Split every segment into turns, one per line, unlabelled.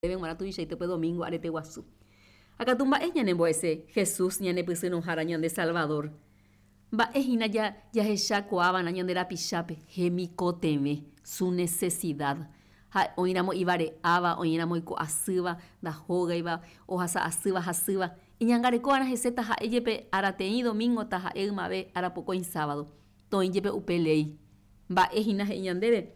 Ñandéve g̃uarã tuichaite upe domingo arete guasu. Ha katu mba'e ñanembo'ese Jesús ñanepysyrõhára ñande Salvador? Mba'e hína jahechakuaava'erã ñande rapichápe? Hemikotevẽ, su necesidad. Ha oĩramo ivare'áva, oĩramo oiko'asýva, ndahógaiva, ohasa asýva, hasýva, iñangarekova'erã hese taha'e jepe arateĩ domingo, taha'e ymave arapokõi sábado. Toĩ jepe upe léi. Mba'e hína he'i ñandéve?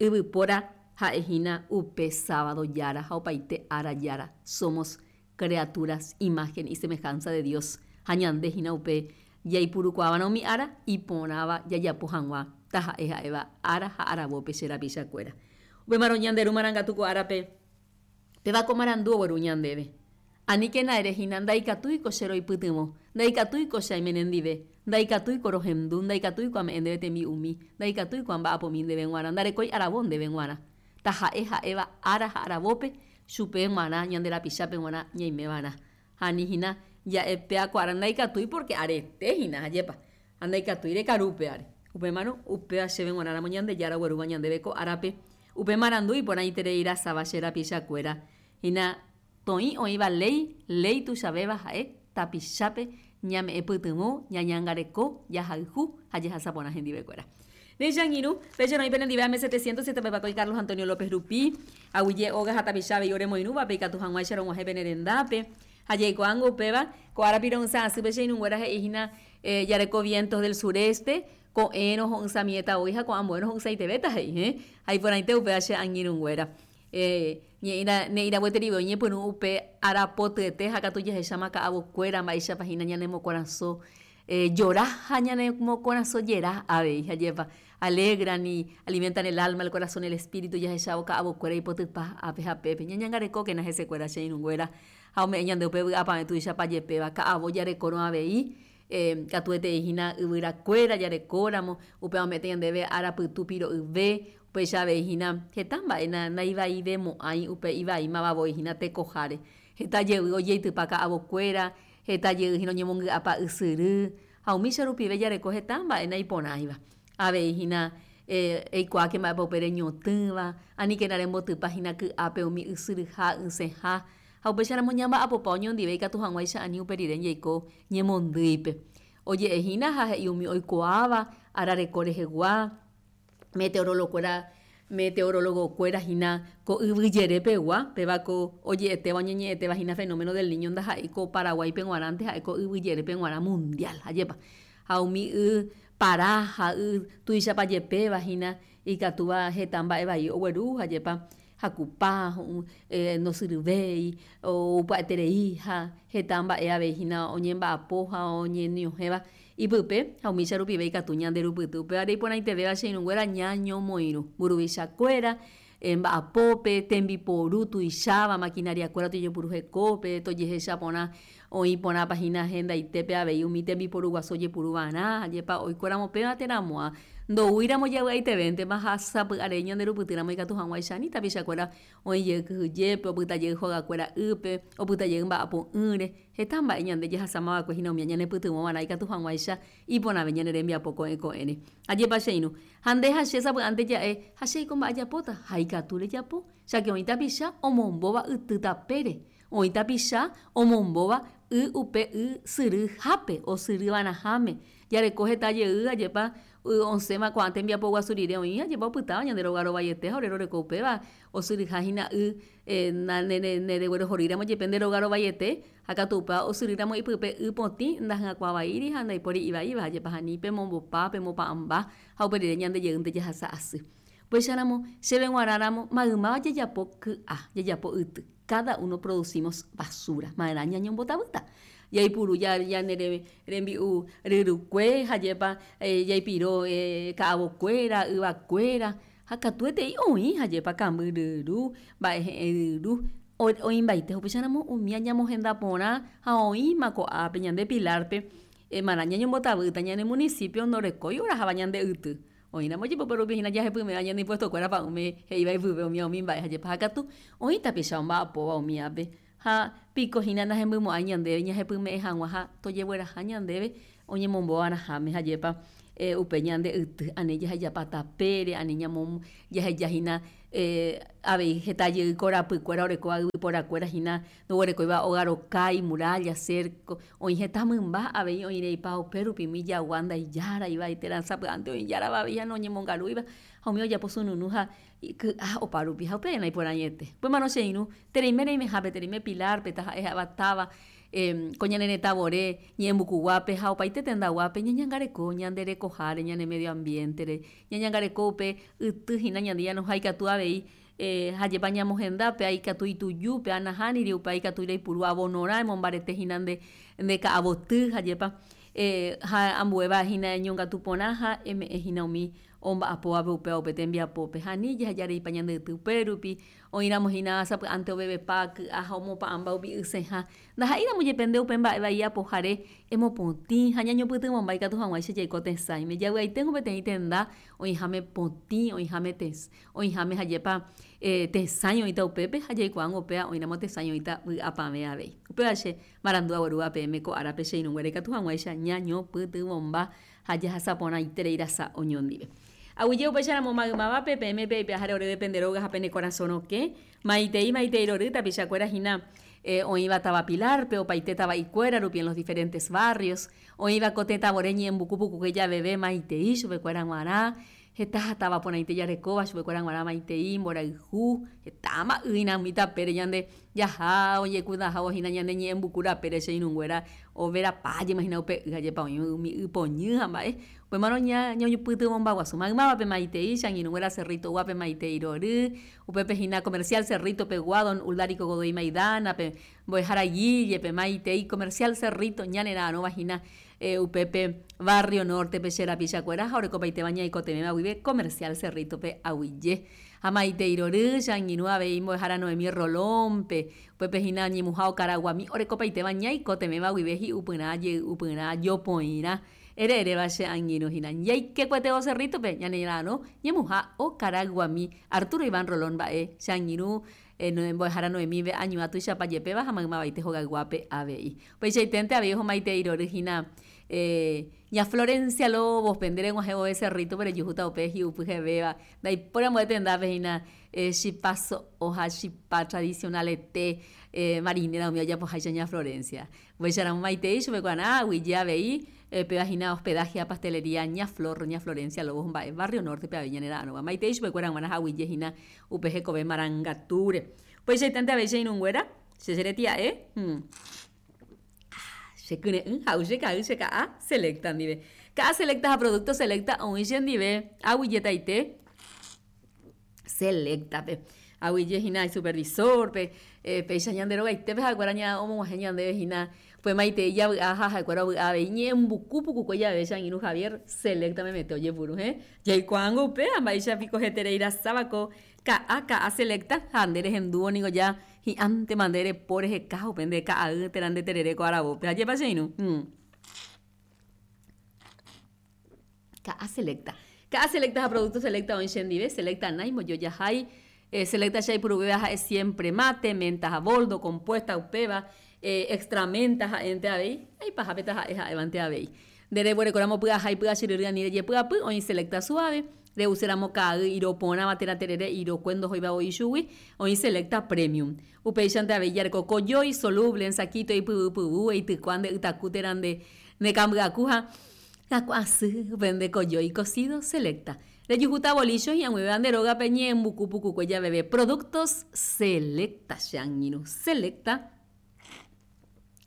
Yvypóra ha'e hína upe sábado jára ha opaite ára jára. Somos creaturas imagen y semejanza de Dios ha ñande hína upe jaipurukuaava'erã umi ára iporãva jajapo hag̃ua taha'e ha'éva ára ha aravópe che rapichakuéra. Upémarõ ñande Ru Marangatu ko árape péva ko marandu ogueru ñandéve. Aníkena ere hína, Ndaikatúiko che roipytyvõ, ndaikatúiko che aime nendive, ndaikatúiko rohendu, ndaikatúiko ame'ẽ ndéve tembi'umi, ndaikatúiko amba'apomi ndéve g̃uarã, ndarekói aravo ndéve g̃uarã. Taha'e ha'éva ára ha aravópe, chupe g̃uarã, ñande rapichápe g̃uarã ñaimeva'erã. Ha ani hína ja'e péa ko ára ndaikatúi pórke arete hína, ajépa. Ha ndaikatúi rekaru upévare. Upémarõ, upéva chéve g̃uarãramo Ñandejára oguerúva ñandéve ko árape, upe marandu iporãiterei rasáva che rapichakuéra hína Toĩ oĩva léi, léi tuichavéva ha'e tapichápe ñame'ẽ pytyvõ, ñañangareko, jahayhu ha jehasa porã hendivekuéra. Néicha angirũ, péicha roĩ penendive ame 707 pepakói Carlos Antonio López rupi, aguyje óga ha tapicha avei oremoirũvape ikatu hag̃uáicha rog̃uahẽ pene rendápe. Ha jaikuaángo upéva, ko ára piro'ysã asýpe che irũnguéra he'i hína jareko vientos del sureste, ko'ẽrõ ho'ysãmiéta voi ha ko'ã ambuérõ ho'ysãitevéta he'i, hẽ? Ha iporãite upéva che angirũnguéra. Ne'ĩra gueterive oñepyrũ upe arapotyete ha katu jahecháma ka'avokuéra mba'éichapa hína ñanemokorasõ jora ha ñanemokorasõ jera avei. Ajépa alegran y alimentan el alma, el corazón, el espíritu jahechávo ka'avokuéra ipotypa ápe ha pépe. Ñañangarekókena hesekuéra che irũnguéra ha ome'ẽ ñande upe vy'apavẽ tuichapa jepéva. Ka'avo jarekórõ avei katuetei hína yvyrakuéra jarekóramo, upéva ome'ẽta ñandéve arapytu piro'yve, Upéicha avei hína heta mba'e naivaivemo'ãi upe ivaímava voi hína tekoháre. Heta jey ojeitypa ka'avokuéra, heta jey hína oñemongy'apa ysyry, ha umícha rupive jareko heta mba'e naiporãiva. Avei hína eikuaáke mba'épa upe reñotỹva, aníkena rembotypa hína ky'ápe umi ysyryha, ysẽha, ha upéicharamo ñamba'apopa oñondive ikatu hag̃uáicha ani upe rire jaiko ñemondýipe. Oje'e hína ha he'i umi oikuaáva arareko rehegua, meteorolokuéra meteorologokuéra hína ko yvy jere pegua, péva ko oje'etéva oñeñe'ẽtéva hína fenómeno del Niño ndaha'éi ko Paraguáipe g̃uarãnte ha'e ko yvy jerépe g̃uarã mundial, ajépa. Ha umi y para ha y tuichapa jepéva hína ikatúva heta mba'e vai ogueru, ajépa, hakupa, ndosyryvéi, ou pya'eterei ha heta mba'e avei hína oñemba'apo ha oñeñohẽva Ipype ha umícha rupive ikatu ñande rupyty. Upévare iporãitevéva che irũnguéra ñañomoirũ. Mburuvichakuéra, mba'apópe, tembiporu tuicháva, maquinariakuéra tojepuru hekópe, tojehecha porã oĩ porãpa hína hendaitépe avei umi tembiporu guasu ojepuru va'erã, ajépa oikóramo péva térã mo'ã. Ndoúiramo javy'aitevéntema ha sapy'arei ñande rupytýramo ikatu hag̃uáicha ani tapichakuéra oĩ jey kyhyjépe, opyta jey hogakuéra ýpe, opyta jey mba'apo'ỹre. Heta mba'e ñande jahasáma va'ekue hína umía ñanepytyvõ va'erã ikatu hag̃uáicha iporãve ñane rembiapo ko'ẽ ko'ẽre. Ajépa che irũ? Ha nde ha che sapy'ánte ja'e, Ha che aiko mba'e ajapóta? Ha ikatu rejapo, cháke oĩ tapicha omombóva yty tapére, oĩ tapicha omombóva y upe y syry hápe, osyry va'erãháme. Jareko heta jey, ajépa y osẽva ko'ã tembiapo guasu rire oĩ, ajépa opytáva ñande róga rovaiete ha ore roreko upéva, osyryha hína y Nereguerohorýramo jepe nde róga rovaiete, ha katu upéva osyrýramo ipype y potĩ ndahyakuãvaíri ha ndaipóri ivaíva, jepa ani pemombopa, pemopa'ãmba ha upe rire ñande jeýnte jahasa asy. Upéicharamo, chéve g̃uarãramo maymáva jajapo ky'a, jajapo yty, cada uno producimos basura, ma'erã ñañombotavýta. Jaipuru ñane rembi'u ryrukue ha jepa jaipiro ka'avokuéra, yvakuéra, Ha katuetei oĩ ha jepa kamby ryru, mba'e he'ẽ ryru, oĩmbaite upéicharamo umía ñamohenda porã ha oĩma ko'ápe ñande Pilar-pe, marã ñañombotavýta ñane municipio ndorekói oraháva ñande yty. Oĩramo jepe upe rupi hína jahepyme'ã ñane impuesto-kuéra pa'ũme he'íva ipype umía umi mba'e ha jepa ha katu oĩ tapicha omba'apóva umíape ha piko hína nahembymo'ãi ñandéve ñahepyme'ẽ hag̃ua ha tojegueraha ñandéve oñemombova'erãháme ha jepa upe ñande yty ani jahejapa tapére, ani ñamo jaheja hína Avei heta jey korapykuéra orekóva yvyporakuéra hína ndoguerekóiva óga rokái, muralla, cerco, oĩ heta mymba avei oĩreipa upérupi umi jagua ndaijáraiva térã sapy'ánte oĩ ijárava avei ha noñemongarúiva ha umi ojapo sununu ha ky'a opárupi ha upéva naiporãiete. Upémarõ che irũ, tereime reimehápe, tereime Pilar-pe, taha'e ha'éva táva ko ñane retã vore ñe'ẽmbukuguápe ha opaite tendaguápe ñañangareko ñande rekoháre, ñane medio ambiente-re, ñañangareko upe yty hína ñande ñanoha ikatu avei ha jepa ñamohenda pe aikatu ituju, pe anahániri upe aikatu reipuru abonorã emombarete hína nde nde ka'avoty ha jepa ha ambuéva hína eñongatu porã ha eme'ẽ hína umi omba'apóvape upéva upe tembiapópe ha ani jahejareipa ñande yty upérupi oĩramo hína sapy'ánte ovevepa ky'a ha omopa'ãmba umi ysẽha Ndaha'éiramo jepe nde upe mba'e vai apohare, emopotĩ ha ñañopytyvõmba ikatu hag̃uáicha jaiko tesãime. Javy'aiténgo peteĩ tenda oĩháme potĩ, oĩháme oĩháme hajépa tesãi oĩta upépe ha jaikuaángo upéva oĩramo tesãi oĩta vy'apavẽ avei. Upéva che marandu aguerúva peẽme ko árape che irũnguéra ikatu hag̃uáicha ñañopytyvõmba ha jahasa porãiterei rasa oñondive. Aguyje upéicharamo maymávape peẽme peipe'aháre oréve pende róga ha pene korasõ rokẽ. Maitei, maitei rory tapichakuéra hína oĩva táva Pilar-pe, opaite tava'ikuéra rupi en los diferentes barrios, oĩva ko tetã vore ñe'ẽmbuku pukukue javeve maitei chupekuéra g̃uarã, heta táva porãite jarekóva chupekuéra g̃uarã maitei, mborayhu, hetáma ýina umi tapére ñande jaha ojekudahávo hína ñane ñe'ẽmbuku rapére che irũnguéra overapa jema hína upe y ajépa oĩ umi y poñy ha mba'e, upémarõ ñañopytyvõmba guasu maymávape maitei che angirũnguéra Cerrito guápe maitei rory, Upépe hína Comercial Cerrito pegua don Uldarico Godoy Maidana pe, mbo'ehára Guille pe, maitei Comercial Cerrito ñanera'arõva hína upépe Barrio Norte pe che rapichakuéra ha orekopaitéva ñaikotevẽva guive Comercial Cerrito pe aguyje. Ha maitei rory che angirũ avei mbo'ehára Noemí Rolón pe, upépe hína ñemuha okaraguami orekopaitéva ñaikotevẽva guive hi'upyrã, jey'upyrã, jopoirã. Ere eréva che angirũ hína. Jaikekuetévo Cerrito-pe, ñanera'arõ ñemuha okarayguami. Arturo Iván Rolón mba'e, che angirũ mbo'ehára Noemí-ve añuã tuichapa jepéva ha maymavaite hogayguápe avei. Upeichaiténte avei ohomaitei rory hína ña Florencia Lobos-pe, nde reg̃uahẽ vove Cerrito-pe rejuhúta upe hi'upy hevéva. Ndaipóri ambue tendápe hína chipa so'o ha chipa tradicional-ete marinera umi ojapoháicha ña Florencia. Upéicharamo maitei chupekuarã aguyje avei péva hína hospedaje ha pastelería Ña Flor, Ña Florencia Lobos mba'e Barrio Norte-pe avei ñane ra'arõva. Maitei chupekuéra g̃uarã ha aguyje hína upe hekove marangatúre. Upeichaitánte avei che irũnguéra, che cheretia'e, che kyre'ỹ ha'u che ka'y che ka'a Selecta ndive. Ka'a Selecta ha producto Selecta oĩ chendive aguyjetaite. Selecta-pe. Aguyje hína isupervisor-pe, péicha ñande rogaitépe ha'ekuéra omog̃uahẽ ñandéve hína upe maitei javy'a ha ha'ekuéra ovy'a avei ñe'ẽmbuku pukukue jave che angirũ Javier Selecta memete ojepuru he. Jaikuaángo upéva mba'éicha piko heterei rasáva ko ka'a ka'a Selecta ha nde rehendúvo niko ja hi'ãntema nde repo reheka upe nde ka'ay térã nde terere ko aravópe. Ajépa che irũ. Ka'a Selecta. Ka'a Selecta ha Producto Selecta oĩ chendive, Selecta naimojojahái, Selecta che aipuruvéva ha'e siempre mate, menta ha boldo, compuesta upéva, extra menta ha'énte avei, ha ipahápe taha'e ha'évante avei. Nde reguerekóramo py'aha ipy'achyryry ani rejepy'apy, oĩ Selecta suave, re'uséramo ka'ay iro porãva térã terere irokue ndohóiva voi chugui, oĩ Selecta premium. Upéichante avei jareko kojói, soluble, ensakíto, ipyvupyvu, eitykua nde ytaku térã nde nekamby'aku ha Raku'asy upe nde kojói cocido Selecta. Rejuhúta bolícho hi'ag̃uivéva nde rógape ñe'ẽmbuku pukukue javeve Productos Selecta che angirũ Selecta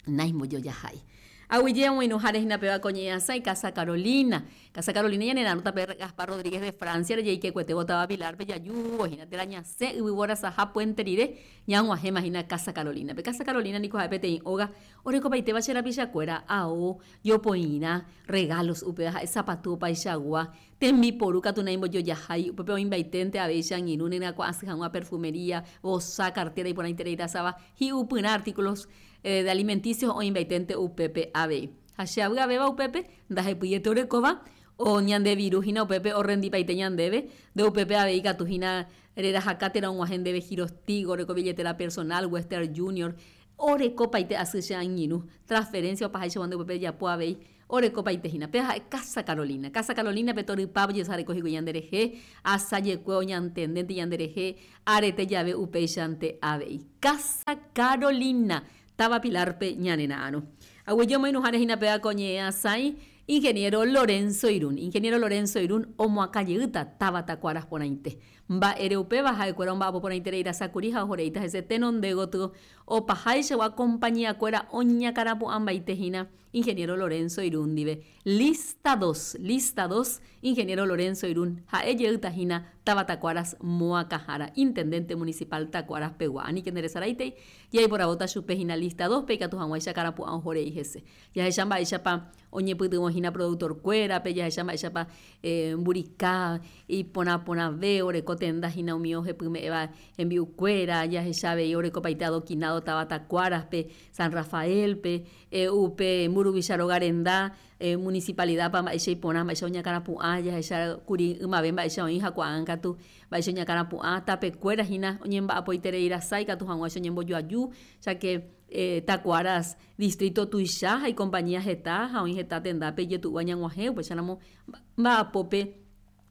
naimbojojahái. Aguyje omoirũháre hína péva ko ñe'ẽasãi Casa Carolina. Casa Carolina ñane ra'arõta pe Gaspar Rodríguez de Francia rejeikekuetévo táva Pilar-pe jajúvo hína térã ñasẽ yvyvorasaha puente rire ñag̃uahẽma hína Casa Carolina-pe. Casa Carolina niko ha'e peteĩ óga orekopaitéva che rapichakuéra ao Jopoirã, regalos, upéva ha'e sapatu opaichagua, tembiporu katu naimbojojahái, upépe oĩmbaiténte avei che angirũ neryakuã'asy hag̃ua perfumería, vosa, cartera iporãiterei rasava, hi'upyrã artículos de alimenticios oĩmbaiténte upépe avei. Ha che avy'avéva upépe, ndahepyiete orekóva, o ñande viru hína upépe orrendipaite ñandéve, nde upépe avei ikatu hína rerahaka térã og̃uahẽ ndéve girostigo, oreko billetera personal, Western Junior, Orekopaite asy che angirũ, transferencia opaháichagua nde upépe ejapo avei. Orekopaite hína. Péva ha'e Casa Carolina. Casa Carolina-pe torypa ojesareko hikuái ñanderehe, asajekue oñantendénte ñanderehe, arete jave upéichante avei. Casa Carolina, táva Pilar-pe ñanera'arõ. Aguyje omoirũháre hína péva ko ñe'ẽ asãi Ingeniero Lorenzo Irún. Ingeniero Lorenzo Irún omoakã jeýta táva Takuaras porãite. Mba'ére upéva ha'ekuéra omba'apo porãiterei rasa kuri ha ohoreíta hese tenonde gotyo opaháichagua compañía-kuéra oñakãrapu'ãmbaite hína Ingeniero Lorenzo Irún ndive. Lista dos, Lista dos, Ingeniero Lorenzo Irún ha'e jeýta hína táva Takuaras moakãhára, Intendente Municipal Takuaras pegua. Aníke nderesaraitei, jaiporavóta chupe hína lista dos-pe ikatu hag̃uáicha karapu'ã oho rei hese. Jahecha mba'éichapa oñepytyvõ hína productor-kuérape, jahecha mba'éichapa mburika iporã porãve oreko tenda hína umi ohepyme'ẽva hembi'ukuéra, jahecha avei orekopaite adoquinado táva Takuaras-pe, San Rafael-pe, Upe mburuvicha róga renda, municipalidad-pa mba'éicha iporã, mba'éicha oñakãrapu'ã, jahecha kuri ymave mba'éicha oĩ ha ko'ág̃a katu mba'éicha oñakãrapu'ã, tapekuéra hína oñemba'apoiterei rasa ikatu hag̃uáicha oñembojoaju, cháke Takuaras distrito tuicha ha ikompañía heta ha oĩ heta tendápe ijetu'úva ñag̃uahẽ, upéicharamo mba'apópe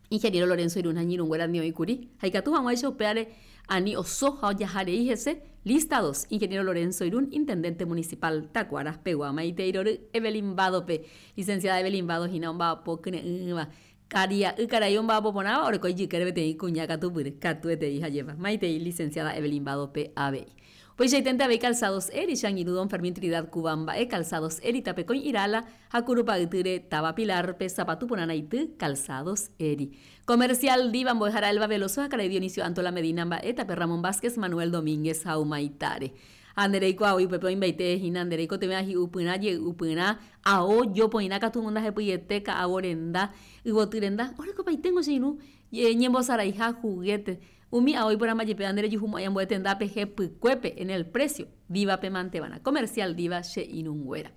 Ingeniero Lorenzo Irún ha iñirũnguéra ndi oĩ kuri, ha ikatu hag̃uáicha upévare ani oso ha ojaha rei hese, Lista dos, Ingeniero Lorenzo Irún, Intendente Municipal Takuaras pegua. Maitei rory Evelyn Bado-pe, Licenciada Evelyn Bado hína omba'apo kyre'ỹva. Karia'y karai omba'apo porãva oreko ijykére peteĩ kuña katupyry, katuetei ha jepa. Maitei Licenciada Evelyn Bado-pe avei. Upeichaiténte avei Calzados Eri, che angirũ Don Fermín Trinidad Cuba mba'e, Calzados Eri tapekõi Irala ha Kurupa'ytýre táva Pilar-pe sapatu porã raity, Calzados Eri. Comercial Diva mbo'ehára Elba Veloso ha karai Dionisio Antola Medina mba'e, tape Ramón Vázquez, Manuel Domínguez ha Humaitáre. Ha nde reikuaa voi upépe oĩmbaite hína nde reikotevẽ hi'upyrã, jey'upyrã, ao, jopoirã katu ndahepyiete, ka'avo renda, yvoty renda, orekopaiténgo che irũ ñembosaraiha juguete, Umi ao iporãmba jepe ande rejuhumo'ãi ambue tendápe hepykuépe, en el precio, Diva-pe manteva'erã. Comercial Diva che irũnguéra.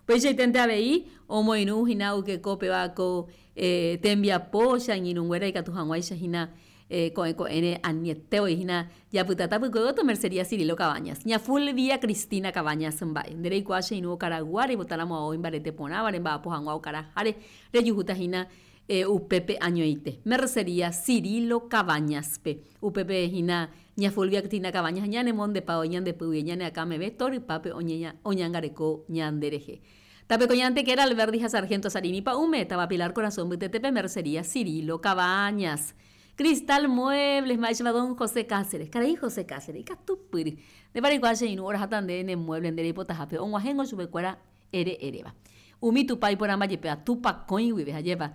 Upeichaiténte avei, omoirũ hína oykeko péva ko tembiapo che angirũnguéra ikatu hag̃uáicha hína ko'ẽ ko'ẽre aniete voi hína japyta tapykue gotyo Mercería Cirilo Cabañas. Ña Fulvia Cristina Cabañas mba'e. Nde reikuaa che irũ okaraygua reipotáramo ao imbarete porãva remba'apo hag̃ua okaraháre rejuhúta hína Upépe añoite. Mercería Cirilo Cabañas-pe. Upépe hína ña Fulvia Cristina Cabañas ñanemondepa oĩ ñande pýgui ñane akã meve torypápe oñangareko ñande rehe. Tape ko ñantekéra Alberdi ha Sargento Sarini pa'ũme, táva Pilar Korasõ mbytetépe Mercería Cirilo Cabañas. Cristal Muebles, mba'éichapa don José Cáceres. Karai José Cáceres, ikatupyry. Ndépa reikuaa che irũ oraháta nde ne mueble nde reipotahápe og̃uahẽngo chupekuéra ere eréva. Umi Tupã iporãmba jepéva, Tupã kõi guive, hajépa,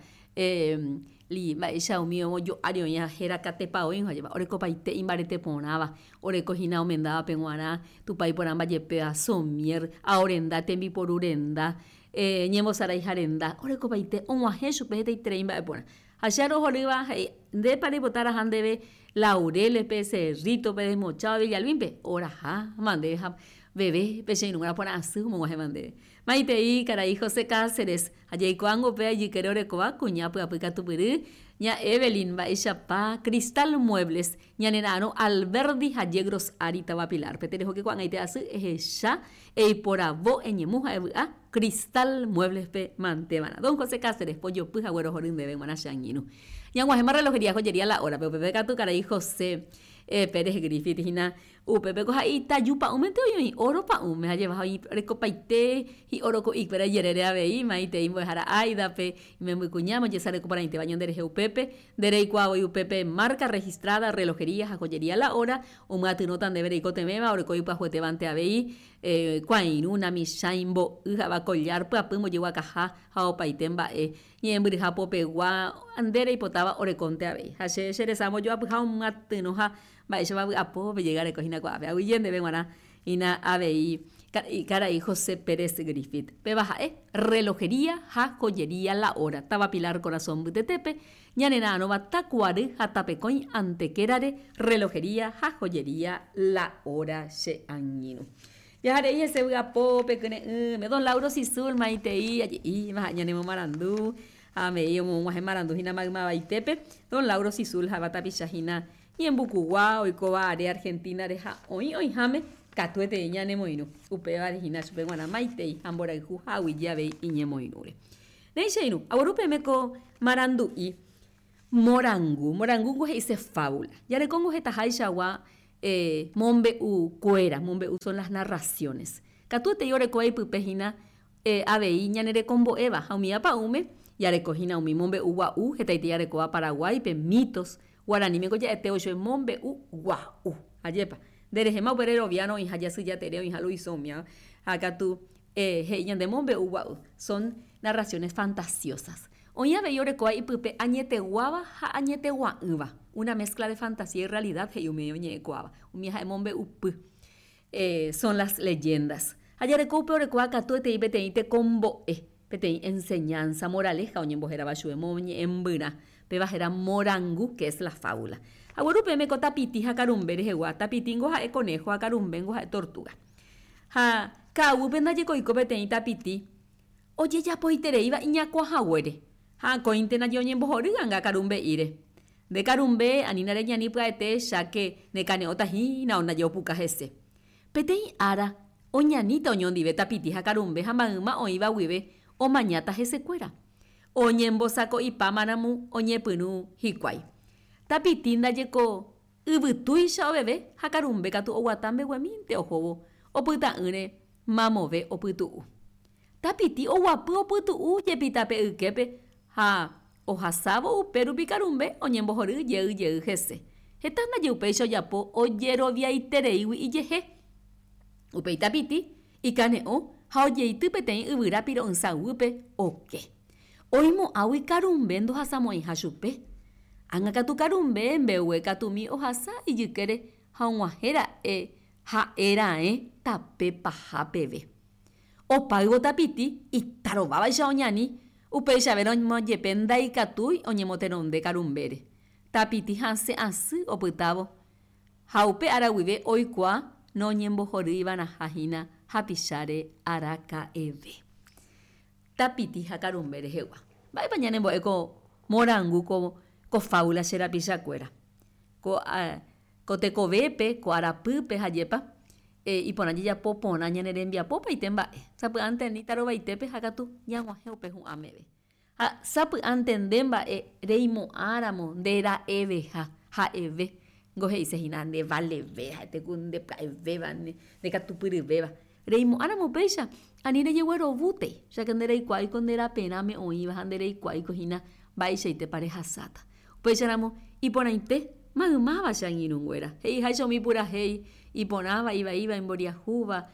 li, mba'éicha umi ojo'ári oĩ ha héra katepa oĩ, hajépa, orekopaite imbarete porãva, oreko hína omendávape g̃uarã, Tupã iporãmba jepéva, somier, ao renda, tembiporu renda, ñembosaraiha renda, orekopaite og̃uahẽ chupe hetaiterei mba'e porã. Ha che arohorýva he'i, Ndépa reipota raha ndéve Laureles-pe, Cerrito-pe, Desmochado, Villalbín-pe? Oraha mandéve ha veve pe che irũnguéra porã asy omog̃uahẽva ndéve. Maitei karai José Cáceres, ha jaikuaángo upéva ijykére orekóva kuña pyapy katupyry, ña Evelyn, mba'eichapa Cristal Muebles, ñanera'arõ Alberdi ha Yegros ári táva Pilar-pe. Terehóke ko'ag̃aite asy ehecha, eiporavo, eñemu ha evy'a Cristal Muebles-pe manteva'erã. Don José Cáceres, pojopy ha guerohory ndéve g̃uarã che angirũ. Ñag̃uahẽma relojería joyería la hora-pe, upépe katu karai José Pérez Griffith hína Upépe ko ha itaju pa'ũmente oĩ oĩ óro pa'ũme ha jeva ha oĩ rekopaite hi'óro ko'ikuéra ijerére avei, maitei mbo'ehára Aida-pe, imemby kuñáme ojesareko porãitéva ñande rehe upépe, nde reikuaa voi upépe marca registrada, relojería ha joyería la hora, omyatyrõta ndéve reikotevẽva, oreko ipyahuetévante avei, kuãirũ, namichãi, mbo'y, ha'éva collar, pyapy, mbojeguakaha ha opaite mba'e ñe'ẽmbyryha popegua nde reipotáva orekónte avei. Ha che, che resa ambojoapyha omyatyrõ ha Mba'éichapa vy'apópe jegareko hína ko'ápe. Aguyje ndéve g̃uarã hína avei karai José Pérez Griffith. Péva ha'e Relojería ha Joyería La Hora, táva Pilar Korasõ mbytetépe, ñanera'arõva Takuary ha Tapekõi Antequérare Relojería ha Joyería La Hora che angirũ. Jaharei hese vy'apópe kyre'ỹme. Don Lauro Sisul maitei aje'íma ha'e ñanemomarandu ha avei omog̃uahẽ marandu hína maymavaitépe. Don Lauro Sisul ha'éva tapicha hína Ñembukugua oikóva are Argentina-re ha oĩ oĩháme Katuetei ñanemoirũ, upévare hína chupe g̃uarã maitei ha mborayhu ha aguyje avei iñemoirũre. Néi che irũ, agueru peẽme ko marandu'i morangu. Morangu niko he'ise fábula. Jarekóngo hetaháichagua mombe'u kuéra, mombe'u son las narraciones. Katuetei orekóva ipype hína avei ñanerekombo'éva ha umíva pa'ũme jareko hína umi mombe'u gua'u hetaite jarekóva Paraguáipe, mitos, Guaraníme ko ja'ete oichove mombe'u gua'u. Ajépa. Nde rehéma upe reroviárõ oĩha jasy jatere oĩha Luisõ umíva ha katu he'i ñande mombe'u gua'u. Son narraciones fantasiosas. Oĩ avei orekóva ipype añeteguáva ha añetegua'ỹva. Una mezcla de fantasía y realidad he'i umi oñe'ẽkuaáva. Umi ha'e mombe'upy. Son las leyendas. Ha jareko upe orekóva katuetei peteĩ tekombo'e, peteĩ enseñanza, moraleja oñembohérava chupe, moñe'ẽmbyrã. Péva héra morangu, que es la fábula. Agueru peẽme ko tapiti ha karumbe rehegua, tapitíngo ha'e conejo ha karumbéngo ha'e tortuga. Ha ka'aguýpe ndajeko oiko peteĩ tapiti ojejapoitereíva iñakuã haguére, ha akóinte ndaje oñembohory anga karumbe'íre. Nde karumbe, anína reñani pya'ete cháke ne kane'õta hína onaje opuka hese. Peteĩ ára, oñaníta oñondive tapiti ha karumbe ha mayma oĩva guive omañáta hesekuéra. Oñembosako'ipámaramo oñepyrũ hikuái. Tapiti ndaje ko yvytúicha oveve ha karumbe katu oguata mbeguemínte ohóvo opyta'ỹre mamove opytu'u. Tapiti oguapy opytu'u jepi tape yképe ha ohasávo upe rupi karumbe oñembohory jey jey hese. Heta ndaje upéicha ojapo ojeroviaitereígui ijehe. Upéi tapiti ikane'õ ha ojeity peteĩ yvyra piro'ysã guýpe oke. Oimo'ãgui karumbe ndohasamo'ãiha chupe. Ág̃a katu karumbe mbegue katumi ohasa ijykére ha og̃uahẽ ra'e ha'e raẽ tape paha peve. Opáyvo tapiti itarovávaicha oñani, upeichavérõ jepe ndaikatúi oñemotenonde karumbére. Tapiti hasẽ asy opytávo ha upe ára guive oikuaa noñembohorýivarãha hína hapicháre araka'eve. Tapiti ha karumbe rehegua. Mba'épa ñanembo'e ko morangu ko ko fábula che rapichakuéra? Ko Ko tekovépe, ko arapýpe ha jepa, iporã jajapo porã ñane rembiapo opaite mba'e. Sapy'ánte ani tarovaitépe ha katu ñag̃uahẽ upe hu'ã meve. Ha sapy'ánte nde mba'e reimo'ãramo nde ra'eveha, ha'eve, ngo he'ise hína nde valeve, ha'ete ku nde pya'evéva, nde katupyryvéva. Reimo'ãramo upéicha, ani rejeguerovútei, cháke nde reikuaáiko nde raperãme oĩva ha nde reikuaáiko hína mba'eichaitépa rehasáta. Upéicharamo, iporãite maymáva che angirũnguéra, he'iháicha umi purahéi iporãva, ivaíva, imboriahúva,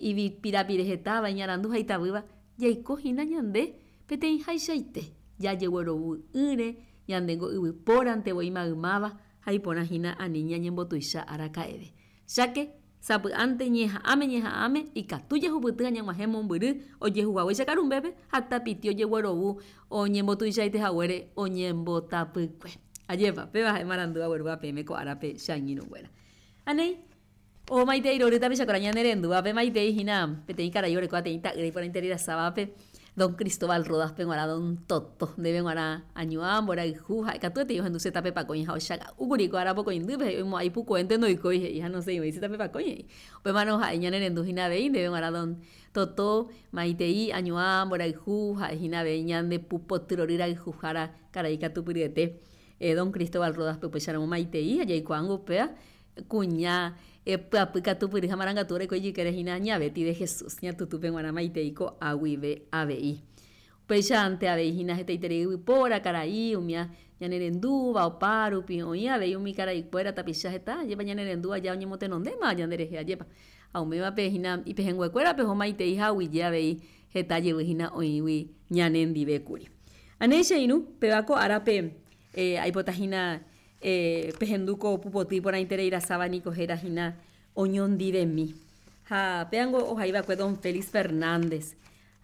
ipirapire hetáva, iñarandu ha itavýva, jaiko hína ñande peteĩhaichaite, jajeguerovu'ỹre, ñandéngo yvypórante voi maymáva ha iporã hína ani ñañembotuicha araka'eve. Cháke, sapy'ánte ñeha'ãme ñeha'ãme ikatu jahupyty ha ñag̃uahẽ mombyry ojehuhaguéicha karumbépe ha tapiti ojeguerovu oñembotuichaite haguére oñembotapykue. Ajépa, péva ha'e marandu aguerúva peẽme ko árape che angirũnguéra. Ha néi, omaitei rory tapichakuéra ñane rendúvape, maitei hína peteĩ karai orekóva peteĩ ta'ýra iporãitereirasávape, Don Cristóbal Rodas-pe g̃uarã, Don Toto, ndéve g̃uarã añuã, mborayhu, ha'e katuetei ohendu che tape pakõi ha ochaga'úkuri ko ára pokõindýpe, he'i oimo'ã ipukuénte ndoikói, he'i ha nosẽivoi che tape pakõi, he'i. Upémarõ ha'e ñanerendu hína avei, ndéve g̃uarã Don Toto, maitei, añuã, mborayhu, ha'e hína avei ñande pupoty rory rayhuhára karai katupyryete, Don Cristóbal Rodas-pe upéicharamo maitei ha jaikuaángo upéva Kuña pyapy katupyry ha marangatu oreko ijykére hína Ña Betty de Jesús, Ña Tutúpe g̃uarã maitei ko'a guive avei. Upéichante avei hína hetaiterei yvypóra, karai, umía ñanerendúva opárupi, oĩ avei umi karaikuéra tapicha heta ajépa ñanerendúva ja oñemotenondéma ñanderehe ajépa. Ha umívape hína ipehẽnguekuérape oho maitei ha aguyje avei heta jevy hína oĩgui ñanendive kuri. Anéi che irũ, péva ko árape aipota hína Pehendu ko pupoty iporãiterei rasáva niko héra hína oñondivemi. Ha péango ohai va'ekue don Félix Fernández.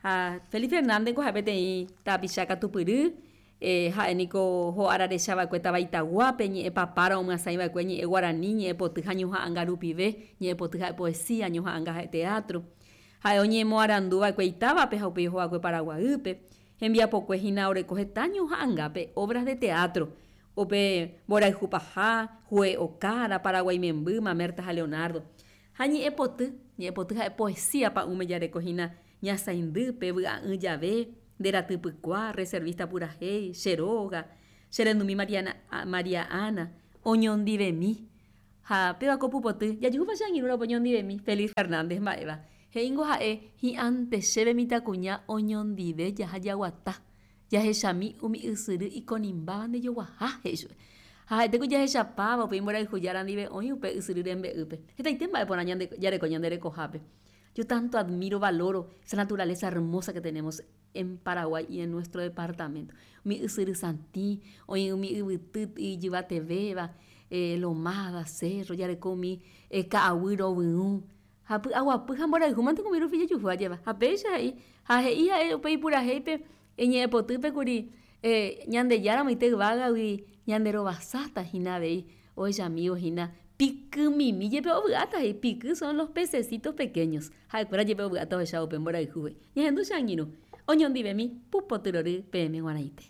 Ha Félix Fernández ko ha'e peteĩ tapicha katupyry, ha'e niko ho'ára recha va'ekue táva Itaguápe, ñe'ẽ papára omyasãi va'ekue ñe'ẽ guarani, ñe'ẽ poty ha ñoha'ãnga rupive, ñe'ẽ poty ha'e poesía, ñoha'ãnga ha'e teatro. Ha'e oñemoarandu va'ekue itávape ha upéi oho va'ekue Paraguaýpe. Hembiapokue hína oreko heta ñoha'ãngápe obras de teatro, Upe mborayhu paha, Hue Okára, Paraguái memby, Mamerta ha Leonardo. Ha ñe'ẽpoty, ñe'ẽpoty ha'e poesía pa'ũme jareko hína ñasaindýpe, vy'a'ỹ jave, nde ratypykua, reservista purahéi, che róga, che rendumi Mariana, María Ana, oñondivemi. Ha péva ko pupoty, jajuhúpa che angirũra upe oñondivemi, Félix Fernández mba'éva. He'íngo ha'e hi'ãnte chéve mitãkuña oñondive jaha jaguata, jahechami umi ysyry ikonimbáva ndejoguaha, he'i chupe. Ha ha'ete ku jahechapáva upe imborayhu jára ndive oĩ upe ysyry rembe'ýpe. Hetaite mba'e porã ñande jareko ñande rekohápe. Yo tanto admiro, valoro esa naturaleza hermosa que tenemos en Paraguay y en nuestro departamento. Umi ysyry satĩ, oĩ umi yvyty ijyvatevéva, lomada, cerro, jareko umi ka'aguy rovyũ, ha py'aguapy ha mborayhu mante umi rupi jajuhu ajépa. Ha péicha he'i, ha he'i ha'e upe ipurahéipe iñe'ẽpotýpe kuri Ñandejára omoite yvágagui ñanderovasáta hína avei ohechamívo hína pikymimi jepe ovy'áta he'i, piky son los pececitos pequeños, ha'ekuéra jepe ovy'áta ohechávo upe mborayhu he'i. Ñahendu che angirũ, oñondivemi pupoty rory peẽme g̃uarãite.